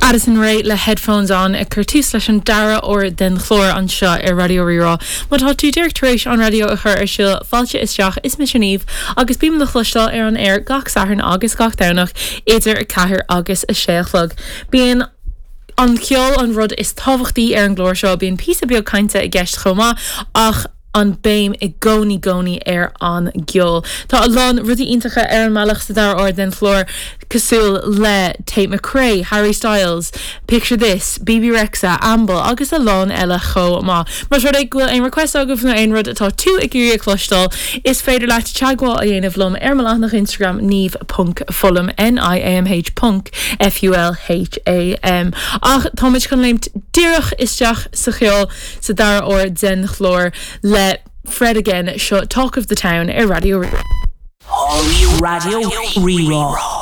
Addison Rae le Headphones On ag cur tús leis an dara huair den chlár anseo ar Raidió Rí-Rá. Má tá tú díreach tar éis an raidió a chur ar siúl, fáilte isteach, is mise Niamh agus bím le cloisteáil ar an aer gach Satharn agus gach Domhnach idir 4 agus 6 a chlog. Bíonn an ceol an rud is tábhachtaí ar an gclár seo, bíonn píosa beag cainte i gceist chomh maith ach an béim i gcónaí gcónaí ar an gceol. Tá a lán rudaí iontacha ar an mbealach sa dara huair den chlár cosúil le Tate McRae, Harry Styles, Picture This, Bebe Rexha, Amble agus a lán eile chomh maith. Más rud é go bhfuil aon request agaibh nó aon rud atá tú ag iarraidh a chloisteáil, is féidir leat teagmháil a dhéanamh liom ar mo leathanach Instagram niamh ponc fulham, N-I-A-M-H ponc F-U-L-H-A-M. Ach táimid chun léimt díreach isteach sa cheol. sa dara huair den chlár le Fred Again, seo Talk of the Town ar Raidió Rí-Rá. Raidió Rí-Rá.